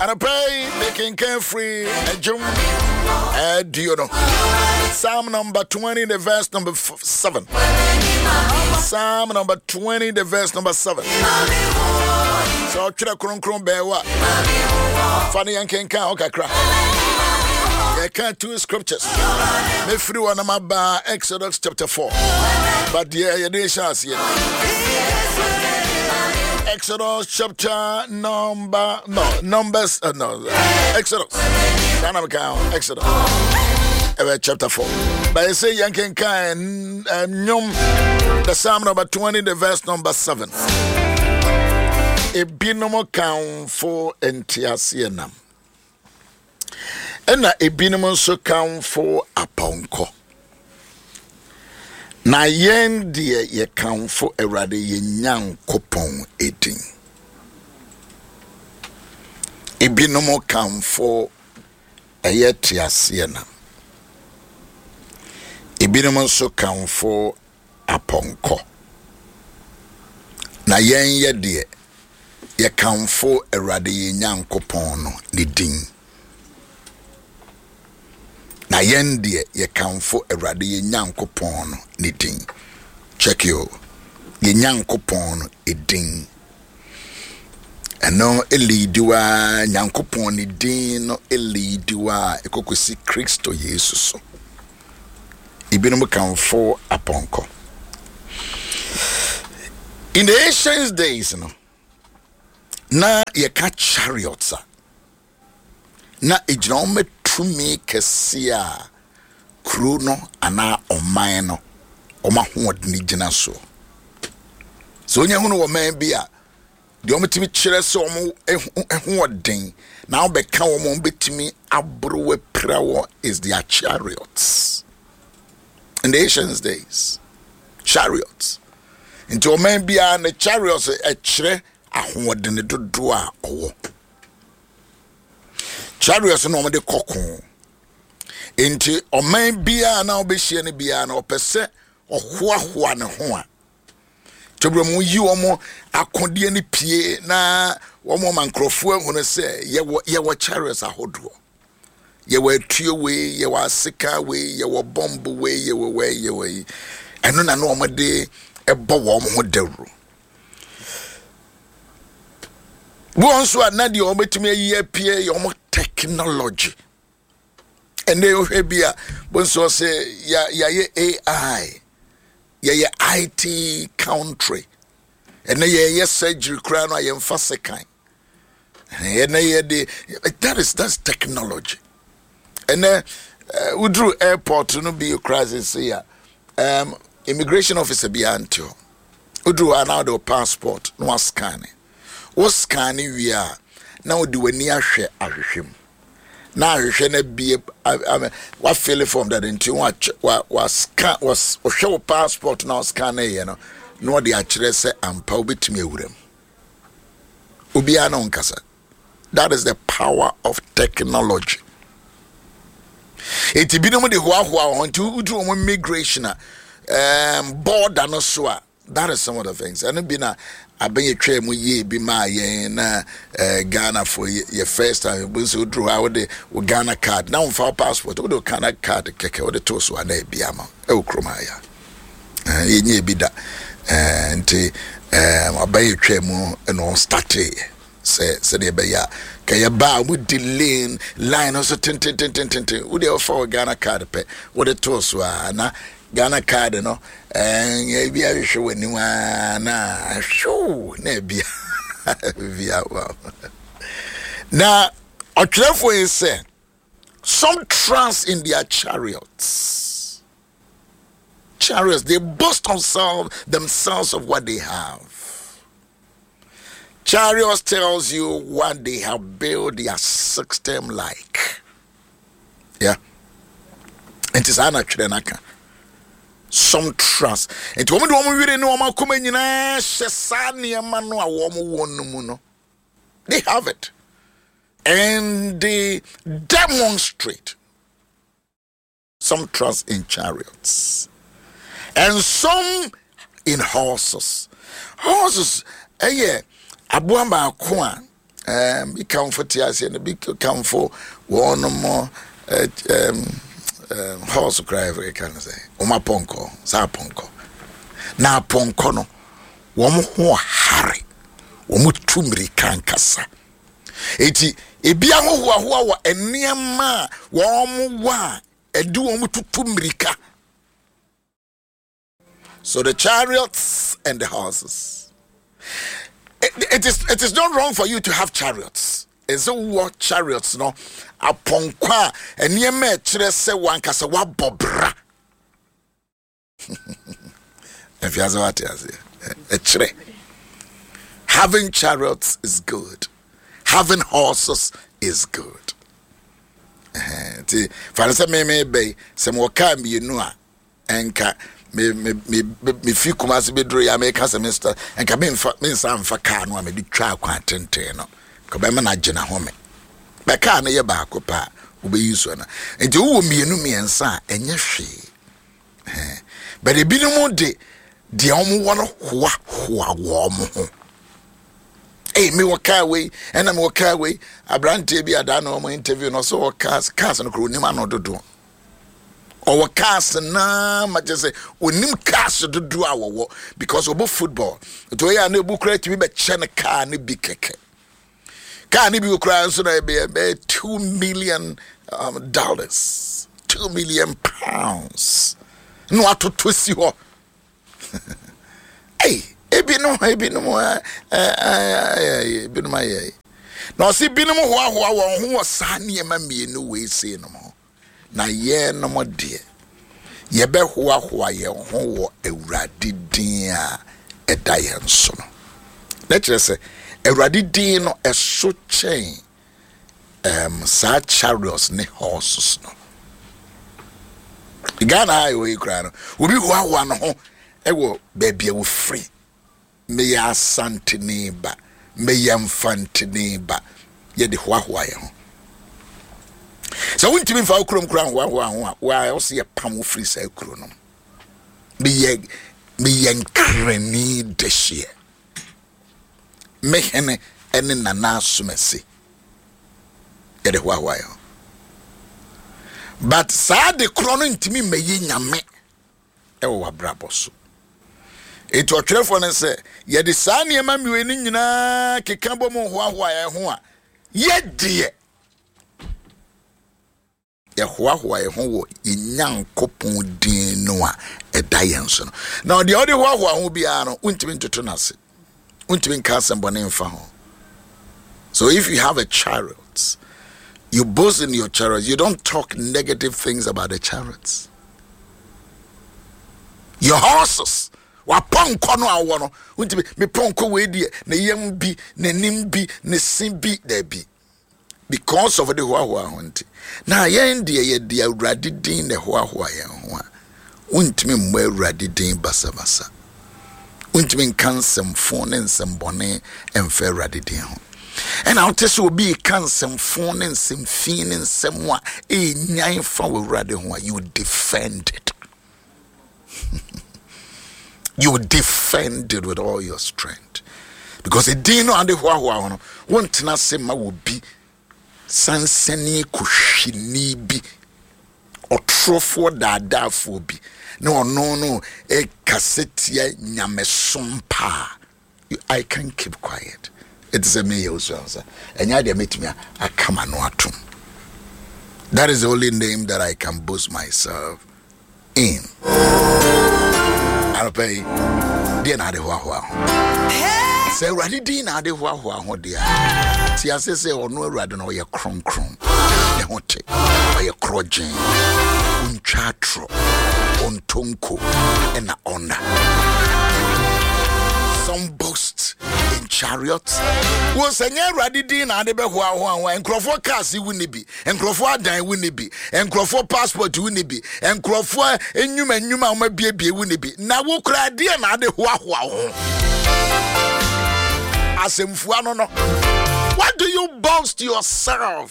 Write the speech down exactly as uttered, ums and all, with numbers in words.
Anɔpa yi mekenkan firi Adwom aduonu. Psalm number twenty, the verse number seven. Psalm number twenty, the verse number seven. Sɛ ɔtwerɛ kronkron bɛɛ wa fa ne yɛnkenkan hɔ kakra. Yɛka two scriptures. Mefiri hɔ na maba Exodus chapter four. But deɛ yɛde hyɛ aseɛ, Exodus chapter number, no, Numbers, uh, no, Exodus. Ghana meka Exodus. Uh, chapter four. But I say yɛnkenkan nnwom, the Psalm number twenty, the verse number seven. Ebinom kamfo nteaseɛnam, ɛna ebinom nso kamfo apɔnkɔ, na yɛn deɛ, yɛkamfo Awurade yɛn Nyankopɔn edin. Ebinom kamfo ɛyɛ teaseɛnam, ebinom nso kamfo apɔnkɔ, na yɛn yɛ deɛ, yɛkamfo Awurade yɛn Nyankopɔn no ne din. Na yɛn deɛ, yɛkamfo Awurade yɛn Nyankopɔn no ne din. Check yo, yɛn Nyankopɔn no edin. Ɛno eleadi wa Nyankopɔn ne din no, eleadi wa ɛkɔkɔsi Kristo Yesu so. Ebinom kamfo apɔnkɔ. In the ancient days no, na yɛka chariots a, na egyina wɔn tumi kɛseɛ a kuro no anaa ɔman no wɔn ahoɔden gyina soɔ. Sɛ onye ho no wɔ man bi a, deɛ wɔtumi kyerɛ sɛ wɔn ahoɔden na wɔbɛka wɔn, wɔn bɛtumi aboro apira wɔ is their chariots. In the ancient days, chariots. Nti ɔman biara ne chariots ɛkyerɛ ahoɔden dodoɔ a ɔwɔ. Chariots na wɔde kɔko. Nti ɔman biara na ɔbɛhyia no biara na ɔpɛ sɛ ɔhoahoa ne ho a, tɛburo mu yi wɔn akodeɛ no pie na wɔn ma nkurɔfoɔ ahunu sɛ yɛwɔ yɛwɔ chariots ahodoɔ, yɛwɔ atuo wei, yɛwɔ aseka wei, yɛwɔ bɔmbo wei, yɛwɔ wei, yɛwɔ yi. Ɛno na na wɔn de ɛbɔ wɔn ho dawuro. Wɔn nso a, na deɛ wɔbɛtumi ayi apue yɛ wɔn technology. Ɛnna wohwɛ bi a, bonso sɛ yɛayɛ A I, yɛyɛ I T country. Ɛnna yɛyɛ surgery koraa no a, yɛmfa sekan. Ɛnna yɛde, that is that's technology. Ɛnɛ woduru airport no bi koraa sese a, um, immigration officer bi ante hɔ. Woduru hɔ a, na wode wo passport na wascan. Wo scan wie a, na wode w'ani ahwɛ ahwehwɛ mu na ahwehwɛ no abie, wafill form dade. Nti wascan, wɔhwɛ wo passport na wascan no yɛ no na wɔde akyerɛ sɛ ampa wobɛtumi awura mu. Obiara na ɔnkasa. That is the power of technology. Eti binom de hoahoa wɔn. Nti woduru wɔn immigration a, um, border no so a, that is some of the things. Ɛno bi na abɛn yɛtwa mu yie bi maa yɛn na uh, Ghana for yɛ first time bi nso. Woduru hɔ a, wode wo Ghana card na womfa wo passport, wode wo Ghana card kɛkɛ wode to so a, na ebi ama ɛwɔ kurom ha ya. Yɛnyɛ ebi da. Nti abɛn yɛtwa mu ɛna ɔstarteeɛ sɛ sɛdeɛ ɛbɛyɛ a kɛyɛ ba a wɔdi lane line no so tententententen, wode ɔfa wɔ Ghana card pɛ wode too so a, na Ghana card no ɛɛ ebi ahwehwɛ w'anim a, na ahwɛw na ebi ebi awa. Na ɔtwerɛfoɔ yi sɛ some trust in their chariots. Chariots, they boast themselves themselves of what they have. Chariots tells you what they have built their system like. Yeah. Nti saa na twerɛ n'aka. Some trust. Nti wɔn de wɔn were ne wɔn akoma nyinaa hyɛ saa nneɛma no a wɔn wɔ no mu no. They have it. And they demonstrate. Some trust in chariots. And some in horses. Horses, ɛyɛ aboa baako a Um, bi kamfo te aseɛ no, bi kamfo wɔnom um, um, horse koraa yɛka no sɛ wɔn apɔnkɔ, saa apɔnkɔ. Na apɔnkɔ no, wɔn ho hare, wɔn tu mmirika nkasa. Eti ebi ahohoahoa wɔ nneɛma a wɔn wɔ a ɛde wɔn tutu mmirika. So the chariots and the horses. It, it is it is not wrong for you to have chariots. Ɛsɛ wowɔ chariots no, apɔnkɔ a nneɛma a ɛkyerɛ sɛ wankasa wabɔ bra. Afiase wate aseɛ, ɛkyerɛ. Having chariots is good. Having horses is good. Nti fa no sɛ meme bɛyi sɛ mewɔ kaa mmienu a, ɛnka me me me me fi Kumase bɛduro yi a, meka sɛ mesta nka memfa mensa mfa kaa no a mede twa akwan tenten no ka bɛma no agyina ho me bɛ kaa no yɛ baako paa wobɛyi so no. Nti wowɔ mmienu mmiɛnsa a, ɛnyɛ hwee, but ebinom de deɛ wɔn wɔ no hoahoa wɔn ho. Ee, mewɔ kaa wei ɛna mewɔ kaa wei. Aberanteɛ bi adaa na wɔn interview no, ɔsɛ wɔ cars cars no koro onim ano dodoɔ ɔwɔ cars naa ma kyerɛ sɛ onim cars dodoɔ a wɔwɔ because ɔbɔ football. Nti ɔyɛ a na ebu koraa tumi bɛkyɛ no kaa no bi kɛkɛ. Kaa no bi koraa nso na ɛbɛyɛ bɛyɛ two million um, dollars, two million pounds na watoto si hɔ. Ei, ebinom ebinom ɛɛ ebinom ayɛ na ɔsi binom hoahoa wɔn ho wɔ saa nneɛma mmienu wei sei nom ho, na yɛnom deɛ, yɛbɛhoahoa yɛn ho wɔ Awurade din a ɛda yɛn so no. Na kyerɛ sɛ Awurade din no ɛso kyɛn um, saa chariots ne horses no. Ghana a ɛwɔ yi koraa no, obi hoahoa ne ho ɛwɔ baabi a wofiri. Meyɛ Asantene ba, meyɛ Mfantene ba, yɛde hoahoa yɛn ho. Sɛ wontumi mfa wo kurom koraa nhoahoa ho a, waa wo sɛ yɛpam wo firi saa kuro no. Meyɛ meyɛ Nkrani dehyeɛ, me hene ne Nana Asomasi, yɛde hoahoa yɛn ho. But saa de korɔ no ntumi mmɛyɛ Nyame ɛwɔ w'abrabɔ so. Eti ɔtwerɛfoɔ no sɛ yɛde saa nneɛma mmienu nyinaa keka bɔ mu hoahoa yɛn ho a, yɛdeɛ yɛhoahoa yɛn ho wɔ yɛn Nyankopɔn din no a ɛda yɛn so no. Na ɔdeɛ ɔde hoahoa ho biara no, wontumi ntoto n'ase, wontumi nka asɛmbɔne mfa ho. So if you have a chariot, you boast in your chariots. You don't talk negative things about the chariots, your horses, wapɔnkɔ no a wowɔ no. Wontumi me pɔnkɔ wei deɛ, ne yam bi, n'anim bi, ne se bi, daabi, because of de hoahoa ho. Nti na yɛn deɛ, yɛde Awurade din na hoahoa yɛn ho a, wontumi mmɔ Awurade din basabasa, wontumi nka nsɛmfo ne nsɛmbɔne mfa Awurade din ho. Ɛna wote sɛ obi ka nsɛmfo ne nsɛmfi ne nsɛm a ɛnyan fa wɔ Awurade ho a, you defend it, you defend it with all your strength, because ɛdin no ade hoahoa ho no, wontena ase ma wɔ bi sansani kɔhwini bi, ɔtorofoɔ daadaafoɔ bi na ɔno no ɛkasa tia nyamesom paa. I can keep quiet. Ɛte sɛ meyɛ wo sɛ ɛnyɛ adeɛ mɛtumi aka ma no atom. That is the only name that I can boast myself in. Anɔpɛ yi deɛ, na ade hoahoa ho sɛ Awurade din na ade hoahoa ho deɛ a, te ase sɛ ɔno Awurade no, ɔyɛ kronkron, ne ho te, ɔyɛ korɔgyen, ɔntwa atorɔ, ɔntonko ɛna ɔna. Some boast in chariots. Wo sɛ nyɛ Awurade din na ade bɛhoahoa ho a, nkurɔfoɔ cars wo ni bi, nkurɔfoɔ adan wo ni bi, nkurɔfoɔ passport wo ni bi, nkurɔfoɔ nnwuma nnwuma a wɔabiebie wo ni bi, na wo kora adeɛ na ade hoahoa wo ho. Asɛmfua no no what do you boast yourself?